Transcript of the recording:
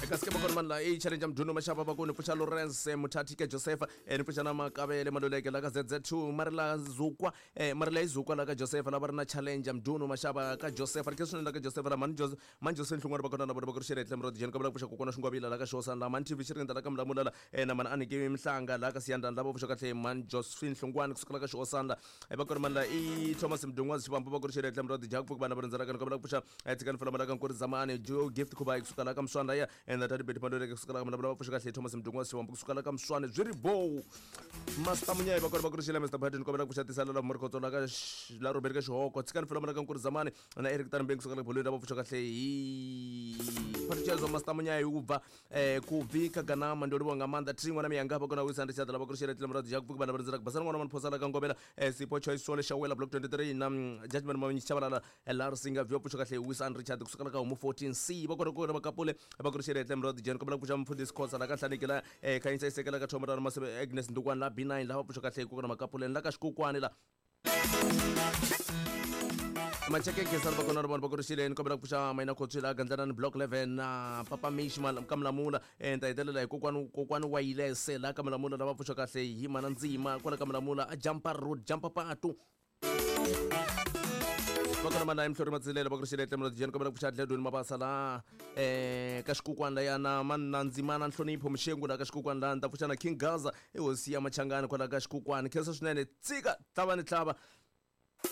Kasi ke bakona mani la i challenge ya mdunu mashaba bakoni pfuxa Lawrence Muthathi ke Joseph ni pfuxa na Makavele Maluleke la ka ZZ2 mari la zukwa mari la izukwa la ka Joseph la va ri na challenge ya mdunu mashaba ka Joseph ri ke swinene la ka Joseph la mani Joseph mani Joseph Nhlungwana bakona na vona va ku ri xere tlem rod jeni ka vula pfuxa kokwana xingwavila la ka Xosana la mani TV xi ri la ka Mlamula la na mani Aniki Mhlanga la ka Siyandani la va pfuxa kahle mani Josephine Hlungwani kusuka la ka Xosana la va ku ri mani la i Thomas Mdungwazi Xivambu va ku ri xere tlem rod Jack pfuka vana va rindzela ka ni kombela ku pfuxa tshikani fula malaka nkuri zamani jo gift khuba kusuka la ka Mswana ya enda tati beti maluleke kusuka la ka Mlamula va pfuxa kahle Thomas Mdungwazi Xivambu kusuka la ka Mswana byi ri bow Master Munyayi va kona va ku ri xile Mr Biden kombela ku pfuxa tisala la Morikhotso la ka la Robert ka Xihoko tshikani fula malaka nkuri zamani na Eric Tanbeng kusuka la bolweni la va pfuxa kahle hi Phathutshedzo Master Munyayi u bva kubvi ka Ganama ndo livhuwa nga maanḓa thi ṅwana miyanga vha kona u wisa ndi tshaḓa la vha ku ri xele tlem radio Jack vhana vha rindzela basana ṅwana mani la ka Ngobela Sipho Choice Sole Shawela block 23 na Judgment Mamenyi Tshabalala la ri singa vyo pfuxa kahle wisa Richard kusuka la ka Homu 14 C va kona ku ri vakapule va ku ri xele tlem radio Jen kombela ku pfuxa mfundhisi Khosa la ka Hlaneki la Khanyisa Isekela ka Thoma ra Masebe Agnes Ndukwana la B9 la va pfuxa kahle ku na makapuleni la ka Xikukwani la macheke khensani va kona ri vona va ku ri xileni kombela ku pfuxa mayina khotswila gandlanani block 11 na papa mish ka Mulamula ni ta hetelela hi kokwani kokwani wa yilese la ka Mulamula lava pfuxa kahle hi mana ndzima kwala ka Mulamula a jumpa road jumpa patu va kona mana emhlori matsilele va ku ri xile tlemelo jeni kombela ku pfuxa dledweni mabasa la ka xikukwani la yana manna ndzimana nhlonipho mxengu la ka xikukwani la ni ta pfuxa na King Gaza i hosi ya machangani kwala ka xikukwani khensa swinene tsika tlava ni tlava.